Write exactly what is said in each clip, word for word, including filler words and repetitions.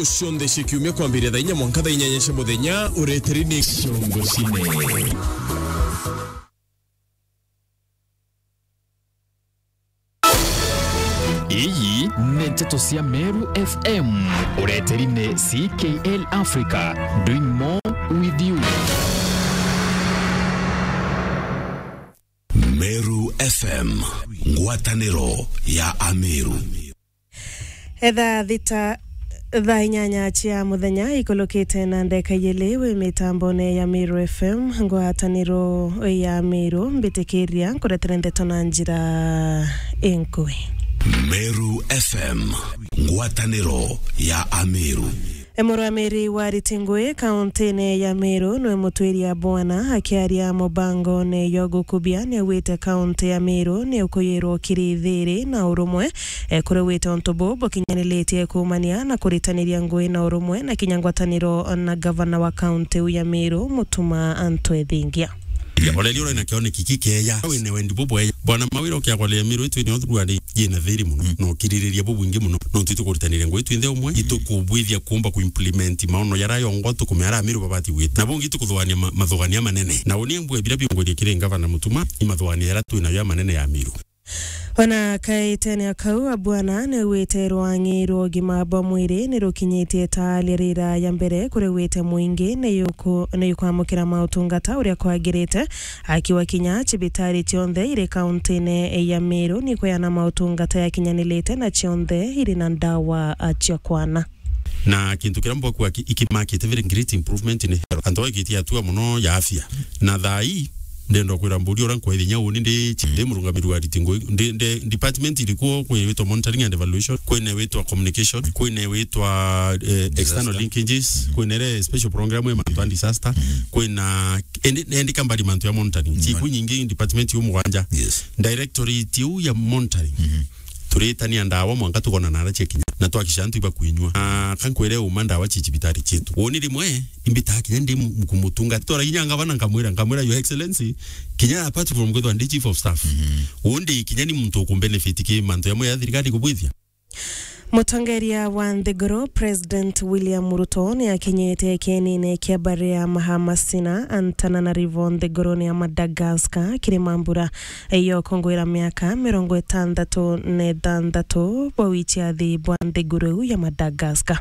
Cionthe cia kiumia kwambiria thaa inya mwanka thaa inyanya cia muthenya, ureteri ni Ciongo Cine. Iyi ni nteto cia Meru F M. Ureteri ni C K L Africa, doing more with you. Meru F M, ngwataniro ya Ameru. Etha thita, thaa inyanya cia muthenya ikulukite na ndeka ijiri wi mitambone ya Meru F M, ngwataniro ya Meru, mbitikiria nkuretere ndeto na njira inkui. Meru F M, ngwataniro ya Ameru. Murugamiri wa ariti ngui kauntine ya Meru niwe Mutwiria Bwana akiaria mubangone yo gukubia niaugite kaunti ya Meru niukuyirwo kiri thiri na urumwe, e, kuri wite untu buu bukinyaniritie kuumania na kuritaniria ngui na urumwe na kinya ngwataniro na gavana wa kaunti iu ya Meru, Mutuma Anto Ethingia. Ya, ureria uria nakio ni kiki keya. Wina wendi bubweya. Bwana Mawira ukiagwaria Meru itu ni uthuru ari yina thiri muno. Mm. Na ukiririria bubwingi muno. No ntu itukuritanire ngui twinthe umwe. Mm. Itukubwithia kuumba kuimplement maono yara yongwa tukumea ara Meru babati gwita. Na bungi tukuthuania ma-, mathuania manene. Na uni mbwe bira biungwirie kiri ngavana Mutuma, imathuania yara twinayo ya manene ya Meru. Ona kaitene akau, Abwana niaugite rwang'i rwa ugima bwa mwiri nirukinyitie ta aria rira ya mbere kuri wite mwingi niuku-, niukwamukira mautungata uria kwagirite, akiwa kinya cibitari cionthe iri kauntine ya Meru nikweana mautungata yakinyanilite na cionthe iri na ndawa cia kwana. Na kintu kiria mbwakua ki-, ikimakite very great improvement ni health. Antu bagitie hatua muno ya afya. Na thaa ii, ndenda kwira mburi uria nkwethia nya uni ndi, ndi murungamiri wa ariti ngui, ndi, ndi department irikuo, kwina witwa monitoring and evaluation, kwina witwa communication, kwina witwa, eh, external linkages, kwina ire special program ya mantu ya disaster, kwina endi, endi kambari mantu ya monitoring. Chiku nyingi department iu mugwanja. Yes. Directorate iu ya monitoring. Turitania ndawa mwanka tukona nara ciakinya, na twakisha antu iba kwinyua. Na kankwire uma ndawa ci cibitari cietu. Woni rimwe, imbitaa kinya ndi mu-, kumutunga. Twara kinya ngavana nkamwira, nkamwira, "Your Excellency, kinya apart from kwithwa ndi chief of staff, undi kinya ni muntu ukumbenefit ki mantu yamwe ya thirikari kubwithia." Mutongeria wa nthiguru, President William Ruto, ni akinyite kienine kia mbari ya Mahamasina, Antananarivo, nthiguruni ya Madagascar, kiri mambura yo kungwira miaka mirongo itantatu na itantatu bwa wichiathi bwa nthiguru iu ya Madagascar.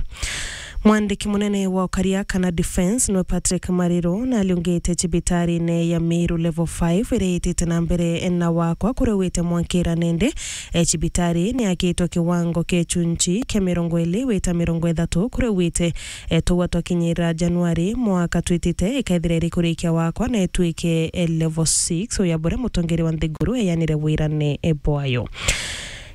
Mwandiki munene wa ukaria kana defense niwe Patrick Mariru, na aliungite cibitarine ya Meru Level five iria itite na mbere na wakwa kuria wite mwankira nende. E, cibitari ni yakitwe kiwango kia chunchi kia mirongo iri wita mirongo ithatu kuria wite, e, tugwa twakinyira Januari mwaka twitite, ikethira iri kurikia wakwa na itwike, e, level six, uya buria mutongeri wa nthiguru eyanire wirane, e, bwayo.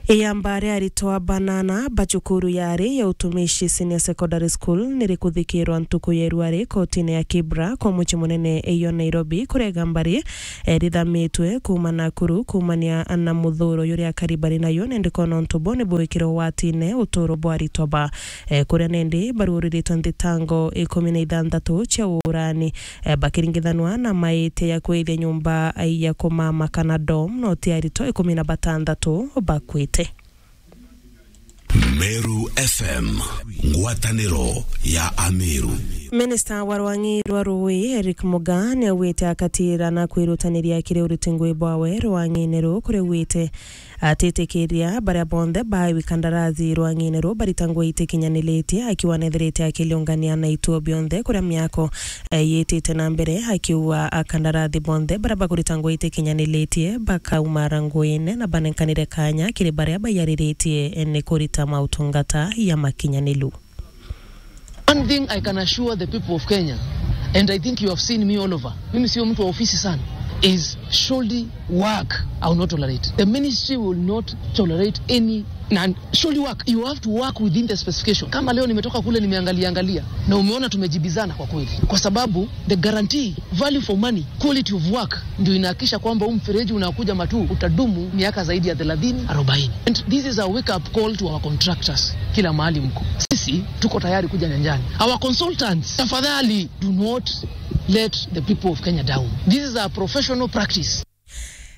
Iyamba ria aritwa banana ba cukuru yari ya utumishi Senior Secondary School nirikuthikirwa ntuku ya irua ri kotine ya Kibra kwa mucii munene iyo Nairobi, kurega mbari, e, rithamitwe kuuma Nakuru kuumania na muthuro juria akari bari nayo, nindi kona untu bo ni bwikire ugwatine uturo bwa aritwa ba, e, kuria nindi baruuriritwe nthitango ikumi na ithanthatu cia uurani, e, bakiringithanwa na maitia ya kwithia nyumba ya kumama kana dorm, no ti aritwa ikumi na bathanthatu bakwite. Meru F M, ngwataniro ya Ameru. Minista wa rwang'i rwa ruui, Eric Mugaa, niaugite akatira na kwirutaniria kiri uriti ngui bwawe rwang'ini ruu, kuria augite atitikiria baria bonthe baiwi kandarathi rwang'ini ruu barita ngui itikinyanilitie, akiuga nethirite akiliungania na ituo bionthe kuria miako, e, yitite na mbere, akiuga akandarathi bonthe baria bakurita ngui itikinyanilitie bakaumara nguine na banenkanire kanya kiri baria baiyariritie ni kurita mautungata ya makinyanilu. One thing I can assure the people of Kenya, and I think you have seen me all over, mimi sio mtu wa ofisi sana, is shoddy work I will not tolerate. The ministry will not tolerate any na shoddy work. You have to work within the specification. Kama leo nimetoka kule nimeangalia angalia na umeona tumejibizana kwa kweli, kwa sababu the guarantee, value for money, quality of work ndio inahakikisha kwamba huu mfereji unakuja Matuu utadumu miaka zaidi ya thelathini, arobaini. And this is a wake up call to our contractors. Kila mahali mko, sisi tuko tayari kuja nyanjani. Our consultants, tafadhali, do not let the people of Kenya down. This is a professional practice.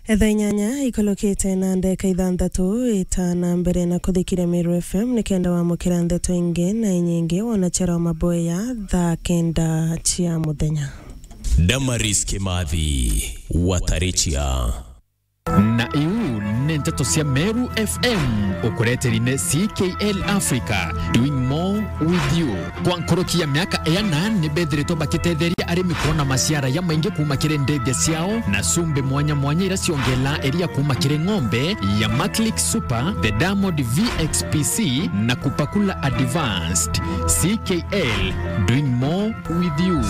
Etha inyanya ikolokete na ndeka ithanthatu, itana mbere na kuthikira Meru F M nikenda wamukira ndeto ingi na inyingi wona chero maboya thaa kenda cia muthenya. Damaris Kimathi, Watarichia. Na iu ni nteto cia Meru F M, ukureteri ni C K L Africa, doing more with you. Kwa nkuruki ya miaka iana, ni bethiritwe bakitetheria arimi kwona maciara jamaingi kuuma kiri ndithia ciao na cumbi mwanya mwanya iria ciongelaa iria kuuma kiri ng'ombe ya Maclick Super, the Diamond V X P C na Kupakula Advanced. C K L, doing more with you.